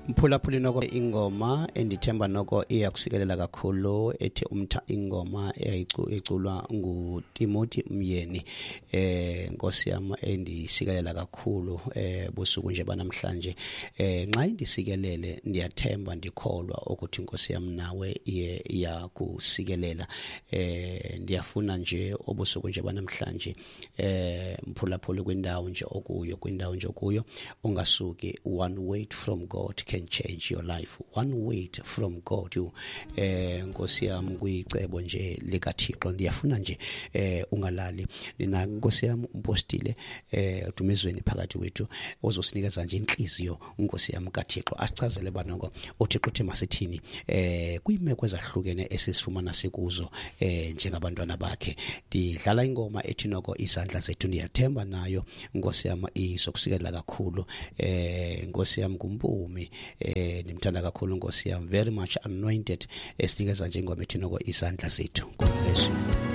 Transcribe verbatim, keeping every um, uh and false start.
Mphulaphuli, noko ingoma endithemba noko iyakusikelela kakhulu ethi umtha, ingoma eyayiculwa nguTimothy Myeni, eh Nkosi yam, endisikelela kakhulu eh busuku nje banamhlanje. eh nxa indisikelele, ndiyathemba, ndikholwa ukuthi, Nkosi yam, nawe iye iyakusikelela. eh ndiyafuna nje obusuku nje banamhlanje, eh mphulaphuli, kwindawo nje okuyo kwindawo nje okuyo ungasuki. One word from God can change your life. One word from God you, eh Nkosi yami, kuyicebo nje likaThixo. Ndiyafuna nje eh ungalali nina, Nkosi yami, umpostile eh Dumezweni phakathi kwethu ozosinikeza nje inhliziyo, Nkosi yami, kaThixo, asichazele banoko uThixo uthi masithini eh kwiimeko ezahlukene esisifumana sikuzo eh njengabantwana bakhe. Ndidlala ingoma ethi noko "Izandla Zethu". Ndiyathemba nayo, Nkosi yami, izokusikelela kakhulu. eh Nkosi yami, kumpumi eh ndimthanda kakhulu, Nkosi yami, very much anointed, esinikeza nje ingoma ethi noko "Izandla Zethu". God bless you.